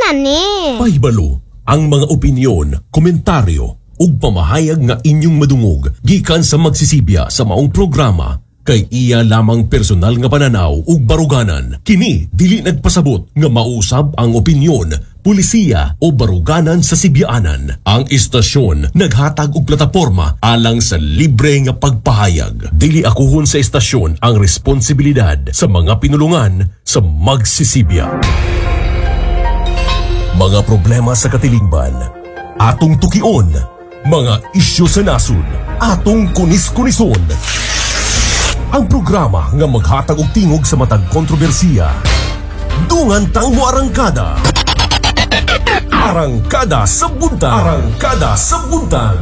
na ni. Pahibalo ang mga opinyon, komentaryo ug pamahayag nga inyong madungog gikan sa magsisibya sa maong programa kay iya lamang personal nga pananaw ug baruganan. Kini dili nagpasabot nga mausab ang opinyon, pulisiya o baruganan sa sibyaanan. Ang istasyon naghatag og plataporma alang sa libre nga pagpahayag. Dili akuhon sa istasyon ang responsibilidad sa mga pinulungan sa magsisibya. Mga problema sa katilingban, atong tukion, mga isyu sa nasod, atong kunis-kunison. Ang programa nga maghatag og tingog sa matag kontrobersiya. Dungan tang moarangkada. Arangkada sa Buntag. Arangkada sa Buntag.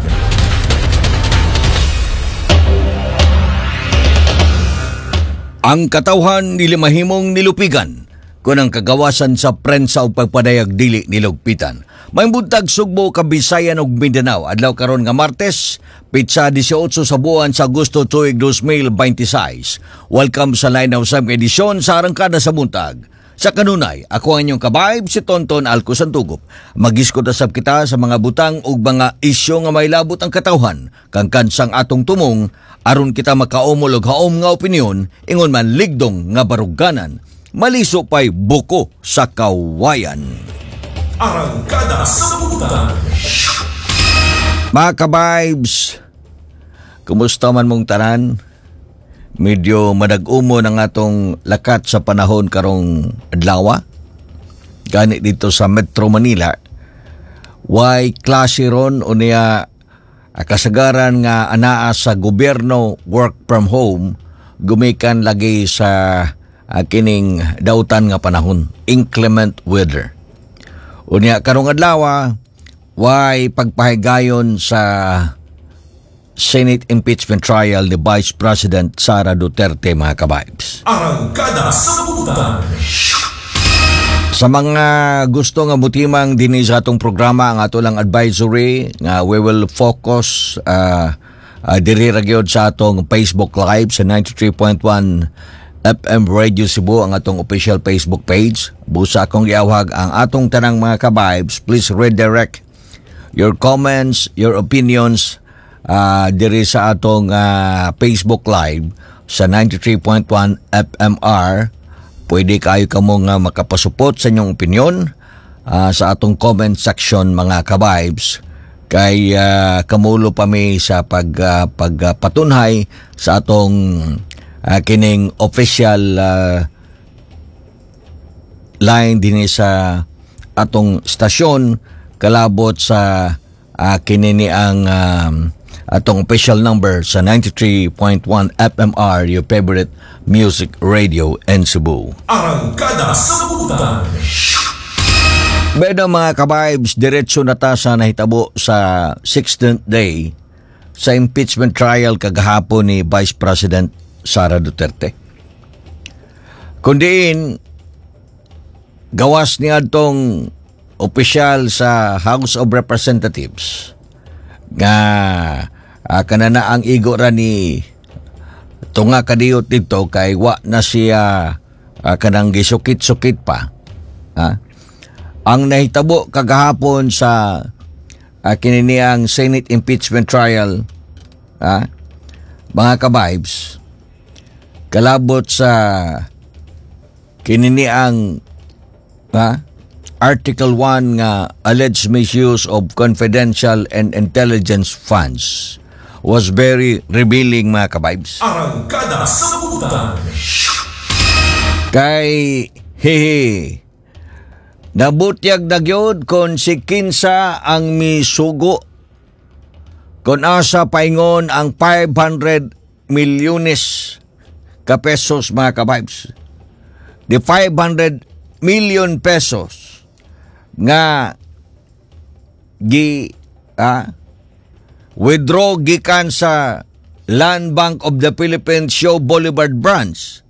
Ang katawhan dili mahimong nilupigan kun ang kagawasan sa prensa ug pagpadayag dili nilugpitan. May buntag, Sugbo, Kabisayan ug Mindanao. Adlaw karon nga Martes, pitsa 18 sa buwan sa Agosto tuig 2026. Welcome sa line of sa edisyon sa Arangkada sa Buntag. Sa kanunay, ako ang inyong kabayb, si Tonton Alco Santugop. Magiskot sab kita sa mga butang ug mga isyu nga may labot ang katawhan, kang kansang atong tumong, aron kita makaumol og haom nga opinyon, ingon man ligdong nga baruganan, maliso pa'y buko sa kawayan. Arangkada sa Buntag. Mga ka-vibes, kumusta man mong tanan? Medyo madag-umo ng atong lakat sa panahon karong adlaw. Gani dito sa Metro Manila, why klase ron o niya kasagaran nga anaa sa gobyerno work from home gumikan lagi sa kining dautan nga panahon, inclement weather. Unya karong adlaw, why pagpahigayon sa Senate impeachment trial ni Vice President Sara Duterte, mga kabibes. Arangkada sa Buntag. Sa mga gusto nga mutimang dinhi sa atong programa, ang ato lang advisory nga we will focus diri ra gyud sa atong Facebook Live sa 93.1 FM Radio Cebu, ang atong official Facebook page. Busa akong giawhag ang atong tanang mga kabibes, please redirect your comments, your opinions diri sa atong Facebook Live sa 93.1 FMR. Pwede kayo kamo nga makapasupot sa inyong opinion sa atong comment section, mga kabibes, kay kamulo pa mi sa pagpatunhay sa atong kining official line dinhi sa atong stasyon kalabot sa kinini ang atong official number sa 93.1 FMR, your favorite music radio in Cebu. Arangkada sa Buntag. Bueno, mga kabibes, diretso na ta sa nahitabo sa 16th day sa impeachment trial kagahapon ni Vice President Sara Duterte. Kundiin, gawas niya atong opisyal sa House of Representatives nga kanana ang igo ra ni tunga kadiyot dito kay wa na siya kanang gisukit-sukit pa. Ha? Ang nahitabo kagahapon sa kininiang Senate impeachment trial, ha, mga kabibes, kalabot sa kininiang, ha, Article 1 nga alleged misuse of confidential and intelligence funds was very revealing, mga kabibes. Arangkada sa Buntag. Kay hehe nabutyag na gyud kon si kinsa ang misugo kon asa paingon ang 500 milyones ka pesos, mga kabibes. The 500 million pesos nga gi withdraw gikan sa Land Bank of the Philippines Shaw Boulevard branch.